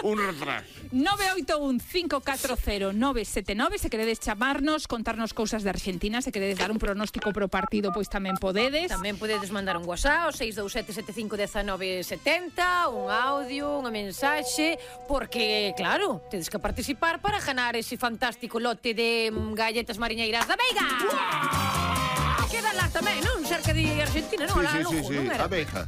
Un retraso. 981-540-979. Se queredes chamarnos, contarnos cousas de Argentina, se queredes dar un pronóstico pro partido, pois tamén podedes. Tamén podedes mandar un WhatsApp, 627751970, un audio, unha mensaxe, porque, claro, tedes que participar para ganar ese fantástico lote de galletas mariñeiras da Veiga. Queda lá tamén, non? Cerca de Argentina, non? Sí.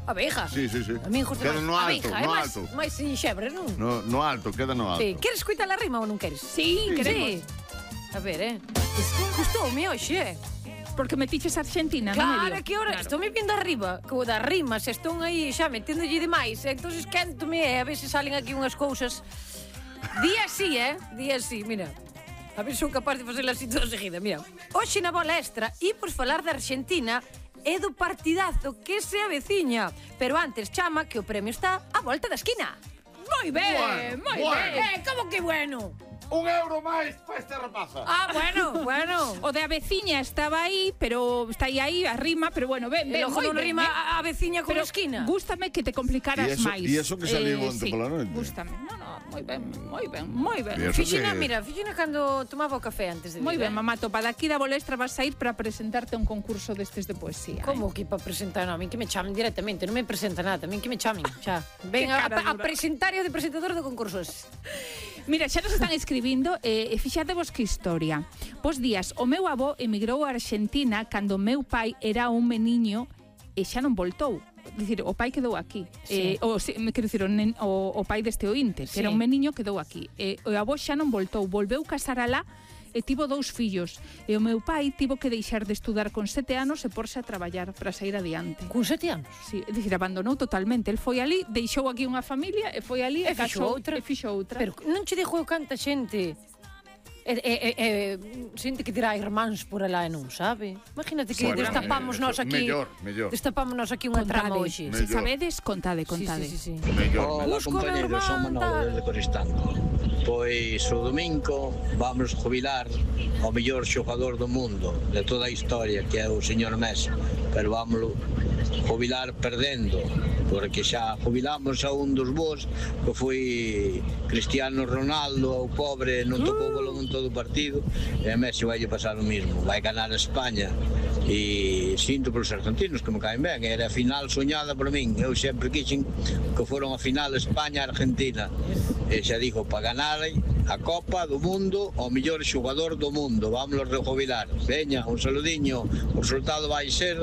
Abeja. Sí. A min justo queda no alto, Abeja, no alto. máis xebre, non? No alto, queda no alto. Sí. Queres escutar a rima ou non queres? Sí, queremos. A ver, Gustoume hoxe, Porque metiches Argentina, Claro, non me que ahora estou me vindo arriba, co da rima, se estou aí xa meténdolle demais, entonces quéntome, a ver se salen aquí unhas cousas. Día así, mira. A ver se sou capaz de facela así toda seguida, mira. Hoxe na bola extra, imos falar da Argentina e do partidazo que se aveciña. Pero antes, chama, que o premio está á volta da esquina. Moi ben, moi ben. Como que bueno? €1 máis para esta rapaza. Ah, bueno. O de a veciña estaba aí, pero está aí a rima, pero bueno, ben, E logo moi non ben, rima a veciña con pero a esquina. Gústame que te complicaras máis. E eso que saliu onte pola noite. Gústame. No, moi ben. E eso Fixina que- cando tomaba o café antes de vir. Moi ben, mamá topa, daqui da Bolestra vas a ir para presentarte a un concurso destes de poesía. Como que para presentar? Non, a min que me chamen directamente, non me presenta nada, a min que me chamen, xa. Ven Que a cara dura. presentar e de presentador de concursos. Mira, xa nos están escribindo e fixadevos que historia. Bos días, o meu avó emigrou a Argentina cando o meu pai era un meniño e xa non voltou. Dicir, o pai quedou aquí. Sí. Quero dicir, o pai deste ointe, que era un meniño, quedou aquí. O avó xa non voltou, volveu casar alá e tivo 2 fillos. E o meu pai tivo que deixar de estudar con 7 anos e porse a traballar para sair adiante. Con 7 anos? Sí, é dicir, abandonou totalmente. El foi ali, deixou aquí unha familia e foi ali E e fixo casou outra. e fixo outra. Pero non che dixo canta xente xente que dirá irmáns por alá e non sabe. Imagínate que Bueno, destapamos nós aquí. mellor. Destapamos nós aquí unha trama hoxe. Se sabedes, contade. Sí. Mellor. Hola, Busco compañeros, son meu irmán, Manolo desde Coristanco. Pois o domingo vamos jubilar ao mellor xogador do mundo de toda a historia, que é o señor Messi, pero vámoslo jubilar perdendo, porque xa jubilamos a un dos vos que foi Cristiano Ronaldo, o pobre non tocou balón en todo o partido, e a Messi vai pasar o mismo, vai ganar a España. E sinto polos argentinos que me caen ben, era a final soñada por min, eu sempre quixen que foron a final España-Argentina, e xa dijo, para ganar a Copa do Mundo ao mellor xogador do mundo, vámonos rejubilar. Veña, un saludiño, o resultado vai ser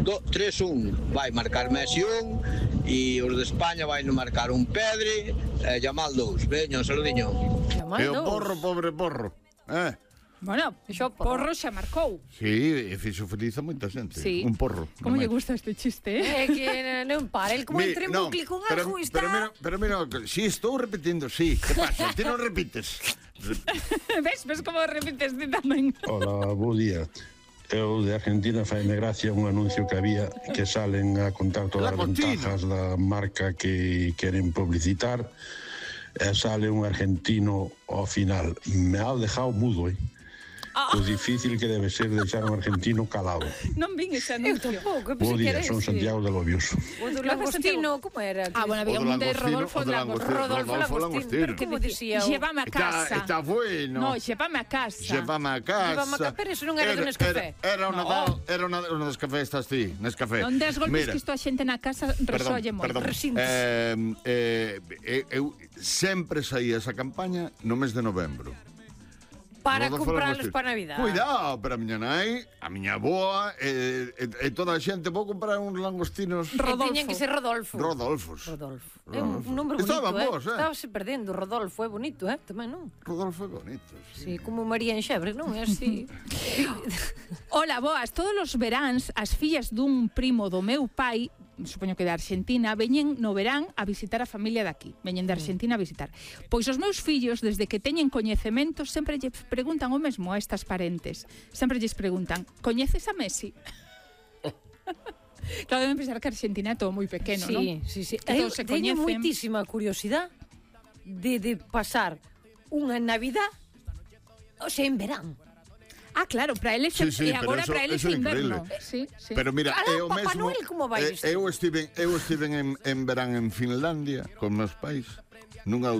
3-1, vai marcar Messi 1 e os de España vai no marcar un Pedri e Yamal 2. Veña, un saludiño. E o porro, pobre porro. Bueno, porro xa marcou. Sí, e fixo feliz a moita xente. Sí. Un porro. Como lle gusta este chiste, É que non para, el como entre en bucle con algo está... Pero mira, si estou repetindo, sí. Que pasa? Ti non repites. Ves como repites ti tamén. Hola, bo día. Eu de Argentina faime gracia un anuncio que había que salen a contar todas as ventajas da marca que queren publicitar e sale un argentino ao final. Me ha dejado mudo, O difícil que debe ser deixar un argentino calado. Non vin ese anuncio. Bo día, son Santiago de Lobios. O do Langostino, como era? Bueno, había un de Rodolfo Langostino. Como dicía? Llévame a casa. Está bueno. No, llévame a casa. Llévame a casa. Pero eso non era do Nescafé. Era unha das café, estás ti, Nescafé. Non des golpes que isto a xente na casa resolle moito. Eu sempre saía esa campaña no mes de novembro. Para comprarlos para Navidad. Cuidado, pero a miña nai, a miña aboa e toda a xente vou comprar uns langostinos. Rodolfo. Tiñen que ser Rodolfo. Rodolfos. É un nombre bonito, Estaban vos, Estábase perdendo. Rodolfo é bonito, tamén, non? Rodolfo é bonito, sí. Como María Enxebre, non? É así. Hola, boas. Todos os veráns, as fillas dun primo do meu pai, supoño que de Argentina, veñen no verán a visitar a familia daqui. Veñen de Argentina a visitar. Pois os meus fillos, desde que teñen coñecemento, sempre lle preguntan o mesmo a estas parentes. Sempre lles preguntan, coñeces a Messi? Claro, deben pensar que Argentina é todo moi pequeno, non? Sí. Que todos se teño coñecen. moitísima curiosidade de pasar unha Navidad, o sea, en verán. Ah, claro, para eles sí, e agora para eles é inverno. Sí. Pero mira, é o Papá mesmo. Noel como vai isto? Eu estiven en verán en Finlandia con meus pais, nunha